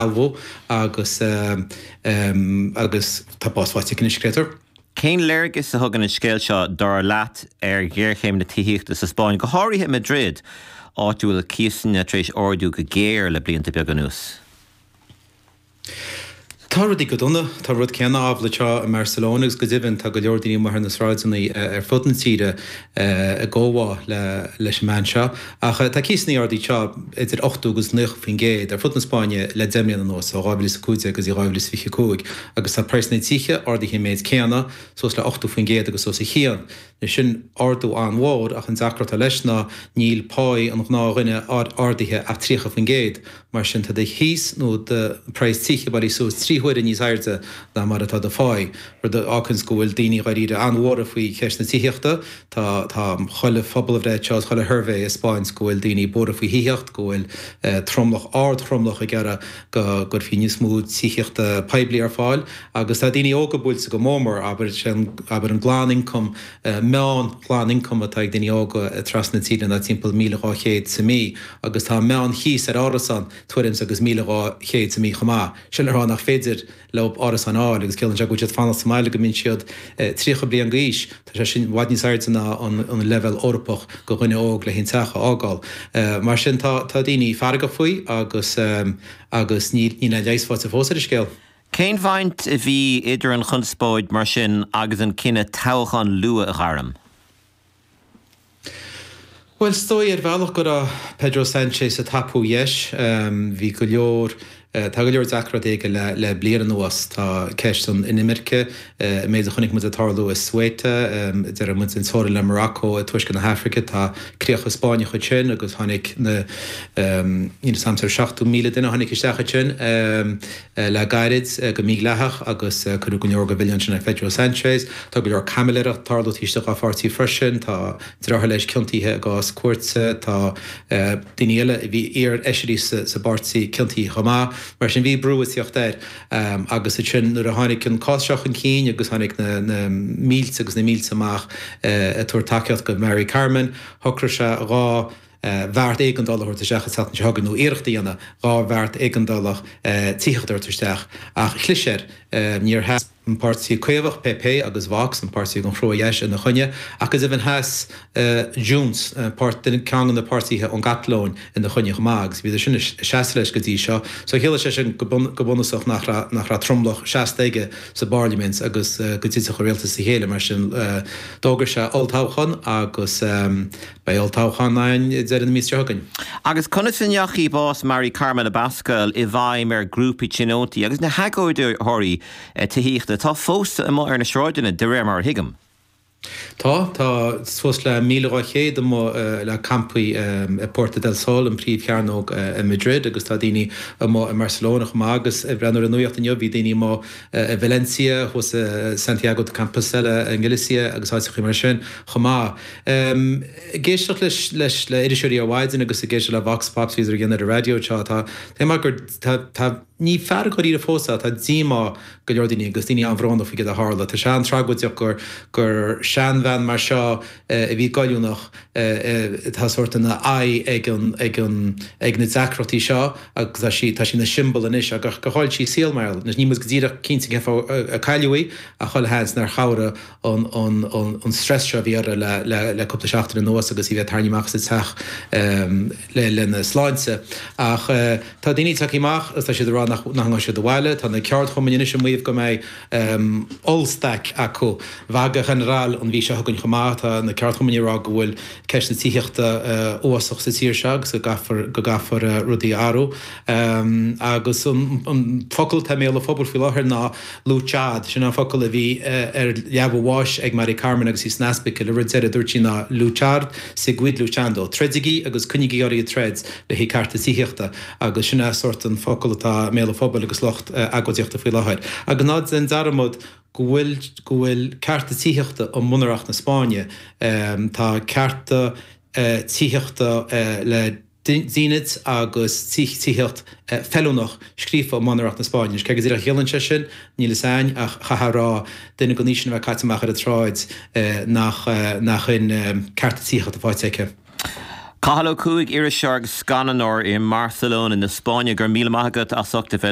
Sealbhú agus agus tá bás faighte aici anois, créatúr. Cén léargas a thugann an scéal seo, dar leat, ar ghéarchéim na tithíochta sa Spáinn, go háirithe i Madrid, áit a bhfuil cíosanna tar éis ardú go géar le blianta beaga anuas? Tá rudaí go dona. Tá an rud céanna amhlaidh anseo i mBarcelona agus go deimhin tá go leor daoine amuigh ar na sráideanna ar fud na tíre i gcomhbhá leis an mbean seo. Ach tá cíosanna ardaithe anseo idir 80 agus 90% ar fud na Spáinne le 10 mbliana anuas, ó 2015 go dtí 2025, agus tá praghsanna tithe ardaithe an méid céanna, suas le 80% agus os a chionn. Anois sin ardú an-mhór ach an deacracht atá leis ná níl páí an ghnáthdhuine ardaithe ach 30%. Mar sin tá do chíos nó do praghas tithe bailithe suas 3 huaire níos airde ná mar atá do pháí, rud a fháganns go bhfuil daoine dháiríre an-bhuartha faoi cheist na tithíochta. Tá tá chuile phobalbhreith anseo is chuile shuirbhé ag 'spáint go bhfuil daoine buartha faoi thithíocht, go bhfuil tromlach, ard-thromlach ag iarraidh go gcuirfí níos mó tithíochta poiblí ar fáil agus tá daoine óga buailte go mór mór, abair, sé abair an glan-ioncam, meán ghlan-ioncam atá ag daoine óga trasna na tíre ná timpeall 1,200 sa mí agus tá an meán chíos ar árasán tuairim is agus 1,200 sa mí chomh maith. Sin le rá nach féidir leo árasán a fháil agus ciallaíonn sé go bhfuil siad fanacht sa mbaile go mbíonn siad 30 bliain d'aois. Tá sé sin i bhfad níos airde ná an leibhéal Eorpach do dhuine óg le haon teach a fhágáil. Mar sin tá daoine feargach faoi agus agus níl aon leigheas faighte fós ar an scéal. Cén bhaint a bhí idir an chonspóid mar sin agus an cinneadh toghchán luath a ghairm? Bhuel, is dóigh ar bhealach go raibh Pedro Sánchez ag tapú dheis. Bhí go leor, tá go leor deacrachtaí aige le le bliain anuas. Tá ceist an inimirce, an méid a chonaic muid ag tarlú i Ceuta, déarfaidh muid an teorainn le Morocco i dtuaisceart na hAfraice, tá críocha Spáinneacha ansin agus tháinig na, níl 'fhios a'msa, 70,000 duine a tháinig isteach ansin le gairid go mídhleathach agus cuireadh go leor de mhilleán sin ar Phedro Sánchez. Tá go leor caimiléireacht ag tarlú taobh istigh dá pháirtí freisin. Tá deartháir leis ciontaithe i gcás cúirte. Tá daoine eile a bhí iar-fheisirí sa bpáirtí ciontaithe chomh maith. Mar sin bhí brú ag tíocht air agus ansin nuair a tháinig an cás seo chun cinn agus tháinig na mílte agus na mílte amach ag tabhairt tacaíocht do Mari Carmen, shocraigh sé 2 bheart éigeandála a thabhairt isteach an tseachtain seo chugainn, nó iarracht a dhéanamh 2 bheart éigeandála tithíochta a thabhairt isteach, ach chlis air. Níor sheas an Páirtí Caomhach, PP, agus Vox, an páirtí den chrua-dheis, ina choinne, ach go deimhin sheas Junts, ceann de na páirtithe ón gCatalóin, ina choinne chomh maith, agus bhíodar sin ag seasamh leis go dtí seo. So chiallaigh sé sin go bunúsach nach raibh tromlach seasta aige sa bparlaimint agus go dtitfeadh a rialtas as a chéile. Mar sin d'fhógair sé olltoghchán agus. Beidh olltoghchán ann ag deireadh na míosa seo chugainn. Agus conas a ndeachaigh bás Mari Carmen Abascal i bhfeidhm ar ghrúpaí tionóntaí agus na hagóideoirí tithíochta atá fós amuigh ar na sráideanna, de réir mar a thuigim? Tá. Tá suas le 1,200 amuigh le campaí i Puerta del Sol, an príomhchearnóg i Madrid, agus tá daoine amuigh i mBarcelona chomh maith. Agus ag breathnú ar an nuacht inniu, bhí daoine amuigh i Valencia, thuas i Santiago de Compostela i nGalicia agus áiteachaí mar sin chomh maith. Ag éisteacht leis leis le iriseoirí ar maidin agus ag éisteacht le Vox Pops a bhíodar ag déanamh ar an raidió anseo, tá tá mar gur tá tá ní fearg dháiríre fós é, tá díomá go leor daoine agus daoine an-bhrónach faoi céard a tharla. Tá sé an-tragóideach gur gur seanbhean mar seo a bhí goilliúnach atá sórt ina aghaidh ag an ag an ag na deacrachtaí seo agus tá sí tá sí ina siombail anois ach gur chaill sí a saol mar gheall. Níl muid go díreach cinnte cén fáth a cailleadh í ach chuile sheans nár chabhraigh an stress seo a bhí uirthi le cúpla seachtain anuas agus í a bheith tarraingthe amach as a teach lena sláinte. Ach tá daoine tagtha amach agus tá siad ag rá nach ngabhfaidh siad abhaile. Tá na ceardchumainn anois ag maíomh go mbeidh ollstaic acu, vaga general, an mhí seo chugainn chomh maith. Tá na ceardchumainn ag rá go bhfuil ceist na tithíochta uafásach sa tír seo agus go gcaithfear go gcaithfear rudaí a athrú. Agus an focal atá i mbéal an phobail faoi láthair ná Luchad, sin an focal a bhí ar leaba a bháis ag Mari Carmen agus í san ospidéal. An rud deiridh a dúirt sí ná Luchad, seguid luchando, troidigí agus coinnígí oraibh ag troid le haghaidh cearta tithíochta. Agus sin é sórt an focal atá i mbéal an phobail agus lucht agóidíochta faoi láthair. Agus ná déan dearmad go bhfuil go bhfuil cearta tithíochta i mBunreacht na Spáinne. Tá cearta tithíochta le. dínit agus tithíocht feiliúnach scríofa i mBunreacht na Spáinne. Cé go díreach a chiallaíonn sé sin, níl fhios a'inn, ach chaithfeá a rá, duine den aois sin a bheith caite amach ar an tsráid nach nach in cearta tithíochta faighte aici. Cathal Ó Cuaig, iriseoir agus scannánóir i mBarcelona na Spáinne, go raibh míle maith agat as ucht a bheith linn.